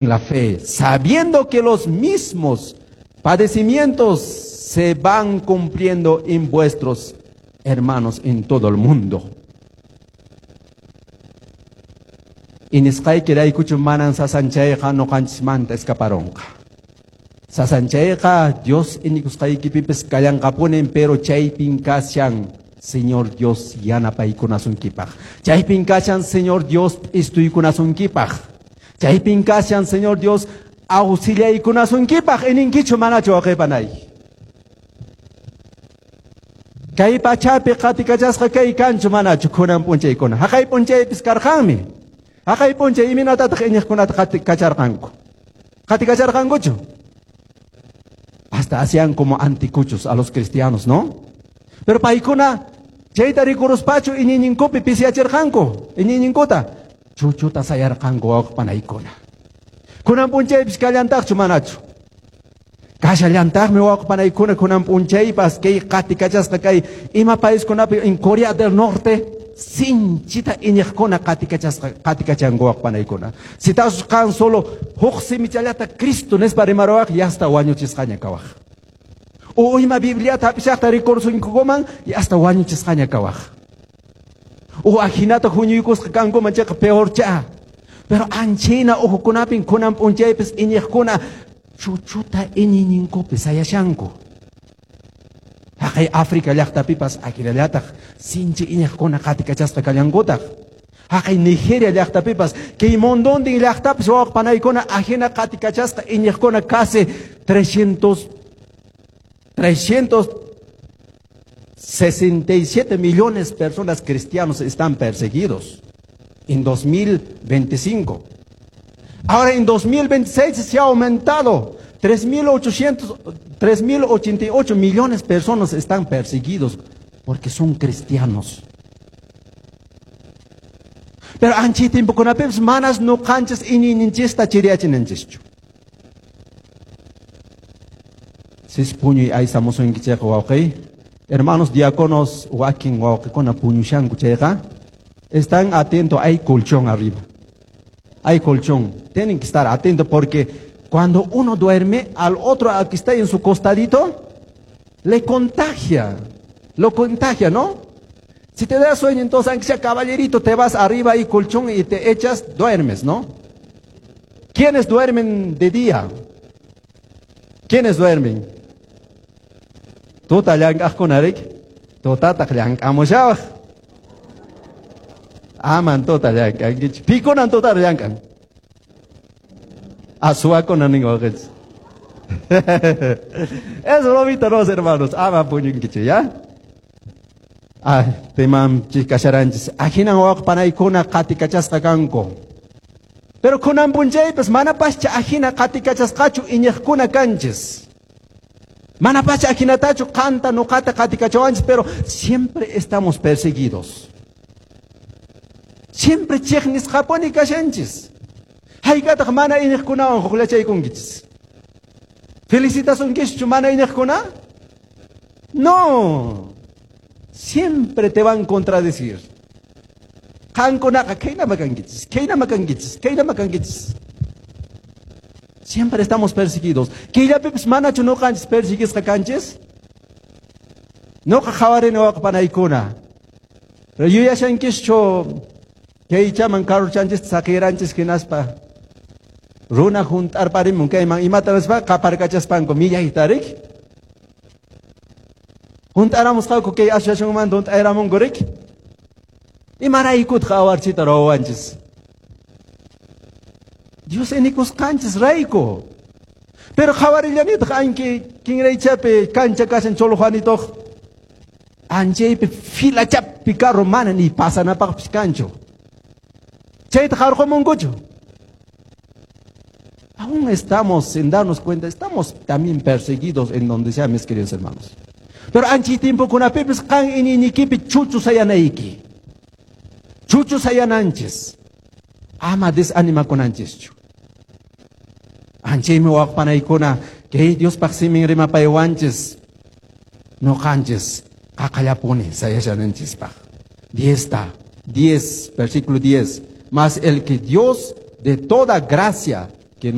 La fe, sabiendo que los mismos padecimientos se van cumpliendo en vuestros hermanos en todo el mundo. Inisqaykiraykuchu manan sasanchayqa ñuqanchismanta escaparonqa. Sasanchayqa Dios iñikusqaykipipis kallanqapunin, pero chaypin kashan Señor Dios yanapaykunasunkipaq. Chaypin kashan Señor Dios p'istuykunasunkipaq. Chaypin kashan Señor Dios auxiliaykunasunkipaq. Ininkichu manachu, wawqipanay? Kay pachapi qatikachasqa kay kanchu manachu kunan p'unchaykuna? Haqay p'unchaypis karqanmi. Haqay p'unchay imaynatataq iñiqkunata qatikacharqanku? Qatikacharqankuchu? Hasta hacían como anticuchos a los cristianos, ¿no? Pero paykuna chayta rikuruspachu iñiyninkupi pisiyachirqanku, iñiyninkuta chuchuta sayarqanku, wawqipanaykuna. Kunan p'unchaypis kallantaqchu manachu? Kashallantaqmi, wawqipanaykuna, kunan p'unchaypas kay qatikachasqa kay ima paiskunapi, en Corea del Norte sinchita iñiqkuna qatikachasqa qatikachanku, wawqipanaykuna. Si qan solo huk simichallata Cristo nispa rimaruwaq, yasta wañuchisqaña kawaq. O ima Bibliata hap'ishaqta rikursunkuman, yasta wañuchisqaña kawaq. O ajinata huñuykusqa kankuman chayqa peorcha. Pero anchina uhukunapin kunan p'unchaypis iñiqkuna chuchuta iñiyninkupi sayashanku. Haqay África llaqtapipas akinallataq sinchi iñiqkuna qatikachasqa kallankutaq. Haqay Nigeria llaqtapipas, kay mundontin llaqtapis, wawqipanaykuna, ajina qatikachasqa iñiqkuna casi 367 millones de personas cristianos están perseguidos en 2025. Ahora en 2026 se ha aumentado. 3.800, 3.088 millones de personas están perseguidos porque son cristianos. Pero anchi tiempokunapipis manas ñuqanchis iñiyninchista chiriyachinanchischu. Sis puñuy aysamusunkichayqa, wawqi. Hermanos diáconos, wakin wawqikuna puñushanku chayqa, están atentos, hay colchón arriba. Hay colchón. Tienen que estar atentos porque cuando uno duerme, al otro al que está en su costadito, le contagia. Lo contagia, ¿no? Si te da sueño, entonces, aunque sea caballerito, te vas arriba y colchón y te echas, duermes, ¿no? ¿Quiénes duermen de día? ¿Quiénes duermen? Tuta llank'aqkuna riki. Tutataq llank'amushawaq. Aman tuta llank'ankichu. Pikunan tuta llank'an? Ah, suwakuna nin wawqinchis. Es bromita, no, hermanos. Ama puñunkichu, ya? Ah, temam kasharanchis. Ahinan wawqipanaykuna qatikachasqa kanku. Pero kunan p'unchaypis manapascha ajina qatikachasqachu iñiqkuna kanchis. Manapacha ajinatachu qanta nuqata qatikachawanchis, pero siempre estamos perseguidos. Siempre chiqnisqapuni kashanchis. Hayk'ataq mana iñiqkunawan hukllachaykunkichis? Felicitasunkischu mana iñiqkuna? No. Siempre te van a contradecir. Qankunaqa khaynama kankichis, khaynama kankichis, khaynama kankichis. Siempre estamos perseguidos. Killapipis manachu ñuqanchis perseguisqa kanchis? Ñuqa qhawarini, wawqipanaykuna. Pero yuyashankischu kaychaman carrochanchista saqiranchis hinaspa runa hunt'arparimun kayman imata nispa qaparkachaspanku millayta riki? Hunt'aramusqaku kay asociacionmanta hunt'ayramunku riki? Imaraykutaq awarchita ruwawanchis? Dios inikusqanchis rayku. Pero qhawarillanitaq anki kinraychapi kancha kashan Cholo Juanitoq. Anchaypi filachapi carro mana ni pasanapaqpis kanchu. Chayta qarqumunkuchu. Aún estamos, sin darnos cuenta, estamos también perseguidos en donde sea, mis queridos hermanos. Pero anchi tiempokunapipis qan iñiynikipi chuchu sayanayki. Chuchu sayananchis. Ama desanimakunanchischu. Anchaymi, wawqipanaykuna, kay Diospaq simin rimapaywanchis ñuqanchis qaqallapuni sayashananchispaq. 10 10, versículo 10. Mas el que Dios de toda gracia